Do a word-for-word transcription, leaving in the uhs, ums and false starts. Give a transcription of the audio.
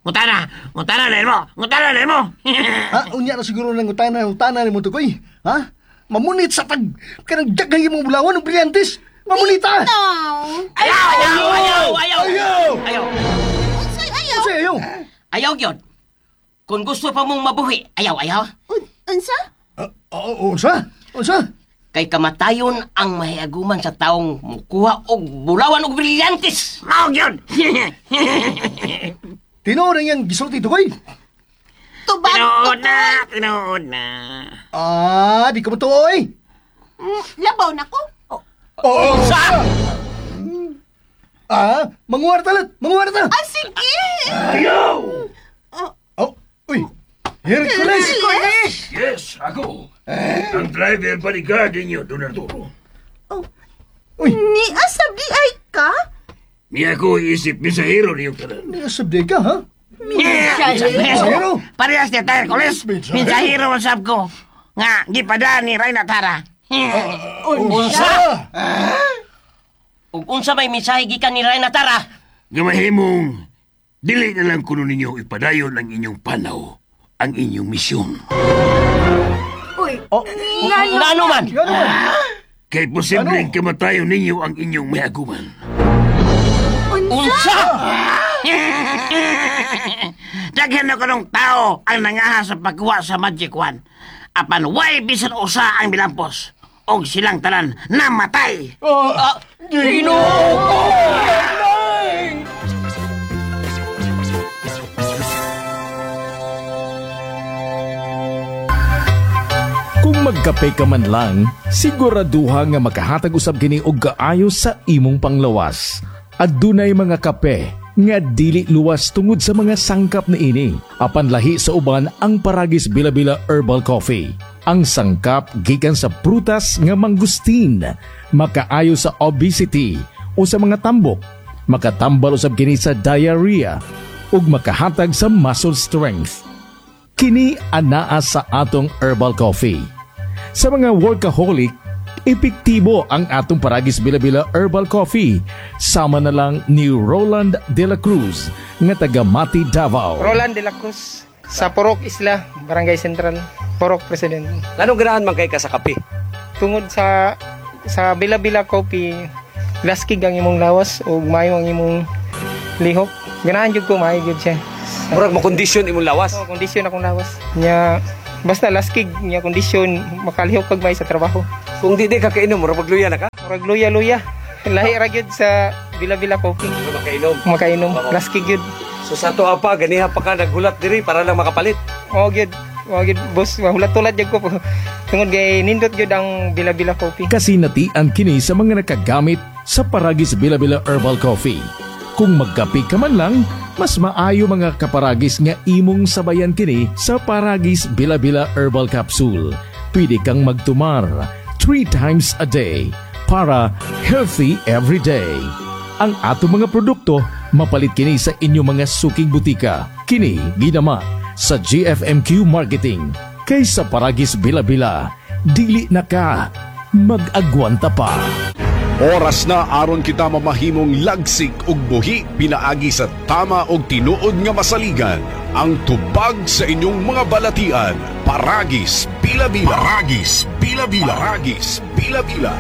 Ngutana, ngutana na mo, ngutana na mo. Ha, unya na siguro nang utana, utana nimo tukoy. Ha? Mamunit sa tag kanang daghay imong bulawan og brilyantes. Mamunita. Bitaw. Ayaw, ayaw, ayaw, ayaw. Ayaw! Ayaw. Unsay ayaw? Unsay ayaw? Ayaw gyud. Kung gusto pa mong mabuhi, ayaw, ayaw. Un- unsa? Ah, oh, unsa? Unsa? Kay kamatayon ang mahiaguman sa taong mukuha og bulawan og brilyantes. Mao gyud. Tinuod ang iyang gisulti tukoy. Tubag Tinuod tukoy. na, tinuod na. Ah, di ka mo tuoy. Mm, labaw na ko. Oh. Oo. Unsa? Ah, manguwar talat, manguwar ta. Ah, sige. Ayaw! Oh, Oh, uy. Hercules. Hercules. Yes, ako. Ang driver bodyguard ninyo, Don Arturo. Oh. Uy. Ni asab di ay ka? Niya ako isip mensahero niyong tanan. Sabdi ka, ha? Mensahero. Parehas niya tayo, Hercules. Mensahero. Mensahero ang sab ko. Nga, gipadaan ni Reyna Tara. Unsa? Ug unsa may mensahe gikan ni Reyna Tara? Nga mahimong, dili na lang kuno ninyo ipadayon ang inyong panaw, ang inyong misyon. Uy. Oh, Ngano? Ngano man? Ngano man? Kay posibleng kamatayon ninyo ang inyong mahiaguman. Unsa? Unsa? Daghan na kanong tao ang nangaha sa pagkuha sa Magic Wand. Apan way bisan usa ang milampos. Og silang tanan namatay. Ah, Ginoo ko! Kung magkape ka man lang, siguraduha nga makahatag usab kini og kaayo sa imong panglawas. Adunay mga kape nga dili luwas tungod sa mga sangkap niini. Apan lahi sa uban ang Paragis Bila-Bila Herbal Coffee. Ang sangkap gikan sa prutas nga mangustin, makaayo sa obesity o sa mga tambok, makatambal usab kini sa diarrhea ug makahatag sa muscle strength. Kini anaa sa atong herbal coffee. Sa mga workaholic, epektibo ang atong Paragis Bila-Bila Herbal Coffee. Sama na lang ni Roland De La Cruz nga taga Mati, Davao. Roland de la Cruz sa Porok Isla, Barangay Central, Porok President. Anong ganahan man kay ka sa kape? Tungod sa sa Bila-Bila Coffee, laskig ang imong lawas ug maayo ang imong lihok. Ganahan jud ko maayo jud siya. Murag mo kondisyon imong lawas. So, kondisyon akong lawas. Nya basta laskig nya kondisyon makalihok kag may sa trabaho. Kung di di ka kainom, murag magluya na ka. Murag luya-luya. Lahi ra gyud sa Bila-Bila Coffee. Murag makainom. Makainom laskig gyud. So sa ato pa ganiha pa ka naghulat diri para lang makapalit. Mao gyud, mao gyud boss, mahulat-hulat gyud ko. Tungod kay nindot gyud ang Bila-Bila Coffee. Kasinatian kini sa mga nakagamit sa Paragis Bila-Bila Herbal Coffee. Kung magkape ka man lang, mas maayo mga kaparagis nga imong sabayan kini sa Paragis Bila-Bila Herbal Capsule. Pwede kang magtumar three times a day para healthy every day. Ang ato mga produkto mapalit kini sa inyong mga suking butika. Kini ginama sa G F M Q Marketing. Kaysa Paragis Bila-Bila, dili na ka mag-agwanta pa. Oras na aron kita mamahimong lagsik ug buhi pinaagi sa tama og tinuod nga masaligan. Ang tubag sa inyong mga balatian. Paragis Bila-Bila. Paragis Bila-Bila. Paragis Bila-Bila.